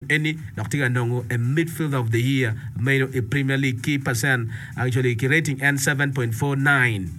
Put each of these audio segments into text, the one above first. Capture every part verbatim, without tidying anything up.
Eni dok tye ka nongo a midfielder of the year meno i Premier League ki percent actually ki rating en seven point four nine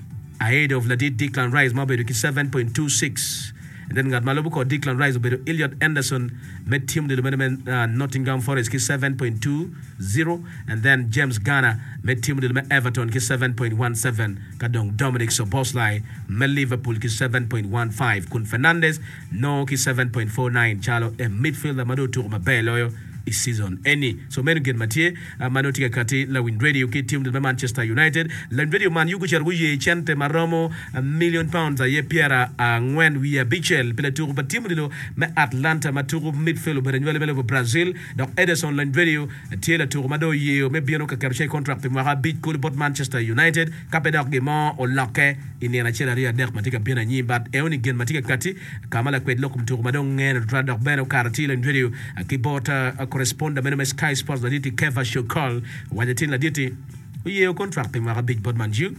ahead of ladit Declan Rice ma obedo ki seven point two six and then ngat ma lubo kor Declan Rice obedo Elliot Anderson me team odilo meno me Nottingham Forest ki seven point two zero and then James Garner me team odilo me Everton ki seven point one seven ka dong Dominic Szoboszlai me Liverpool ki seven point one five kun Fernandes nongo ki seven point four nine calo a midfielder ma dong otuko maber loyo i season eni. So meno gin ma tye ma nongo tye ka kati lawiny radio ki team me Manchester United. Lawiny radio Man U gucito guye cente ma romo million pounds aye pyera angwen wiye abicel pi latuko pa team odilo me Atlanta ma tuko midfield obedo anywali me lobo Brazil dok Ederson. Lawiny radio tye latuko ma dong oyeyo me bino ka keto ce contract pi mwaka abic kulu bot Manchester United ka pe dok gin mo olokke i nino acel aryo adek ma tye ka bino anyim. But enoni gin ma tye ka kati ka ma lakwed lok kom tuko ma dong ngene tutwal dok bene okato tye lawiny radio ki bot correspondent meno me Sky Sports laditi Keva Shokol owaco tin laditi oyeyo contract pi mwaka abic bot Man U.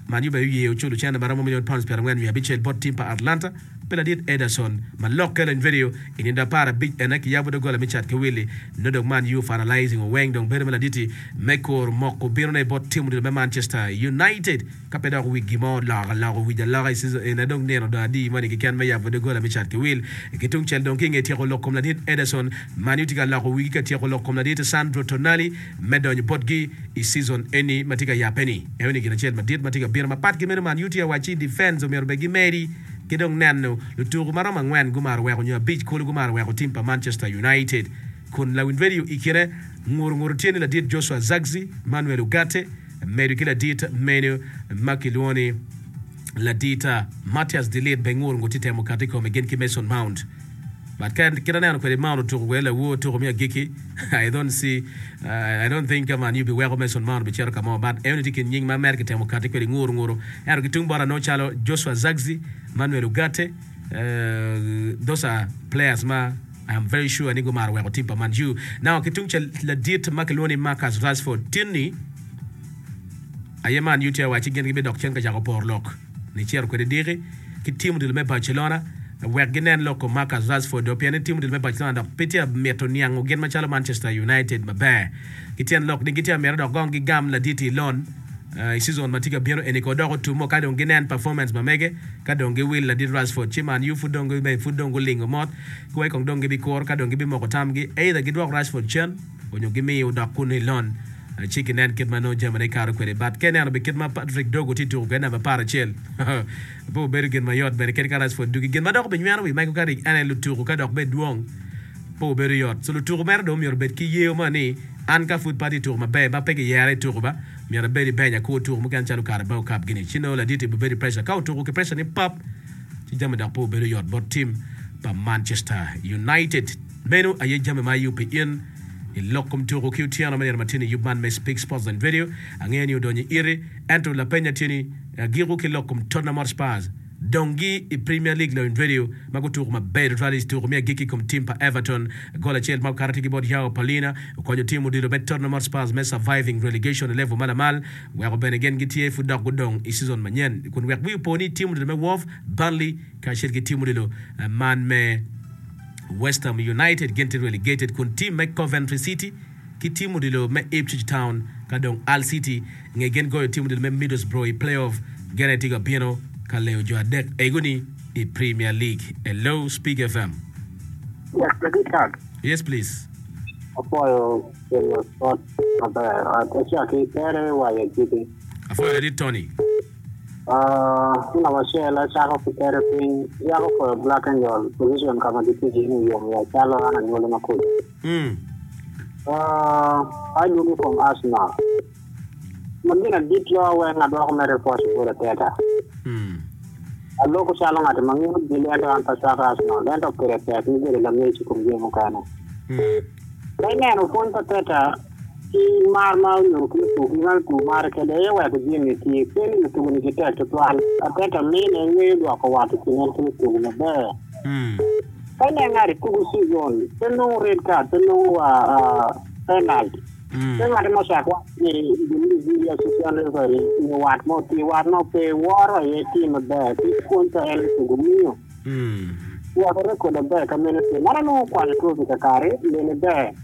Man U bene oyeyo culo cente ma romo million pounds pyerangwen wiye abicel bot team pa Atlanta pi ladit Ederson ma lokke. Lawiny radio i nindo apar abic ene kiyabo doggola me cat ki willi nongo dong Man U finalizing oweng dong bedo me laditi me kor moko binone bot team odilo me Manchester United ka pe dok wigi mo oloko aloko wic aloka i season ene dong nino dong adi moni keken me yabo doggola me cat ki wil. Ki tung cel dong ki nge tyeko lok kom ladit Ederson, Man U tye ka loko wigi ka tyeko lok kom ladit Sandro Tonali me donyo botgi i season eni ma tye ka yabe ni. Enoni gin acel madit ma tye ka bino mapat ki meno Man U tye ka wacci defense omyero bed gimedi ki dong neno lutuku ma romo angwen gumaro weko nyo abic kulu gumaro weko team pa Manchester United kun lawiny radio i kine nguru nguru tye ni ladit Joshua Zirkzee, Manuel Ugarte medo ki ladit meno ma kilwongo ni ladit Matthijs de Ligt be nguru nguru tye temo kati i kome gin ki Mason Mount. But ka kit aneno kwede Mount otuko kwede lawor tuko me agikki, I don't see uh, I don't think Man U biweko Mason Mount bicito ka mo. But enoni tye kin nying ma mere kitemo kati kwede nguru nguru ento ki tung bota nongo calo Joshua Zirkzee, Manuel Ugarte, uh, those are players ma I am very sure ni gumaro weko team pa Man U. Now ki tung ca ladit ma kilwongo ni Marcus Rashford tinni aye Man U tye wacci gin gibidok cen ka cako poro lok ni cito kwede diki ki team odilo me Barcelona wek ginen lok kom Marcus Rashford do pien ni team odilo me Barcelona dok pe tye mito niango gin macalo Manchester United maber ki tyen lok ni gitye mito dok gong gigam laditi loan uh, i season ma tye ka bino eni ko dok otumo ka dong ginen performance ma mege ka dong giwil ladit Rashford ci Man U pud dong pud dong gulingo mot kuwai kong dong gibikuro ka dong gibimoko tamgi either gidwok Rashford cen onyo gimiyo dok kunu i loan ci ginen kit ma nongo jamine kato kwede. But ka ineno bi kit ma Patrick Dorgu tye tuko kwede namba apar acel pe obedo gin mayot bene kadi ka Rashford dugi gin ma dok obinyweno wi Michael Carrick ene lutuko ka dok bed dwong pe obedo yot. So lutuko mere dong myero obed ki yeo mo ni an ka pud pe atye tuko maber ma pe giyera i tuko ba myero abed i bench akur tuko mukene calo Carabao Cup gini ci nongo laditi obedo i pressure ka otuko ki pressure ni pap ci jami dok pe obedo yot bot team pa Manchester United. Meno aye jami ma ayub pi in i lok kom tuko ki otyeno me nino ma tye ni yub man me Speak Sports and Radio. Angeyo ni odonyo i iti ento lapenya tye ni agiko ki lok kom Tottenham Hotspurs dongi i Premier League. Lawiny radio ma gutuko maber tutwal i tuko me agikki i kom team pa Everton gol acel ma okato tye ki bot João Palhinha okonyo team odilo me Tottenham Hotspurs me surviving relegation i level ma lamal weko bene gin gitye pud dok gudong i season manyen kun wek wi opo ni team odilo me Wolves, Burnley kacel ki team odilo man me West Ham United gin tye relegated kun team me Coventry City ki team odilo me Ipswich Town ka dong Hull City nge gin goyo team odilo me Middlesbrough i playoff gene tye ka bino ka leyo jo adek egoni i Premier League. Hello, Speak F M. Yes, Richard. Yes, please. Apoyo kelo sport maber. Acaki tere wayo jiti. Afoyo ladit Tony. Uh, namba acel acako ki tere piny yako foyo Black Angel position kama gitye ni yom ya calo an anywali makuco. mm. Uh, adwogo kom Arsenal. Ma gin adit lo weng adwoko mere pwoc bot Arteta. Mm. Aloko calo ng'at ma ng'iyo gili ento an pe acwako Arsenal ento pire tek ni bedo langec i kom jami mukene. Mm. Ka ineno pwony pa Arteta ki mar ma onyuto ki lutugo ki ma lutugo mare kede aye weko jami tye pe ni lutugo ni gitek tutwal. Arteta mine ng'eyo dwoko wat i kin en ki lutugo maber. Mm. Ka inen ng'at tugo season pe nongo red card pe nongo wa uh, penalty. Mm. Pe ng'at mo cak wac ni gin assistant referee nyo wat mo tye wat mo pe woro aye tye maber ki pwony pa en lutugo miyo. Mm. Weko record maber ka meno tye. Mano nongo okwanyo trophy kakare lene ber.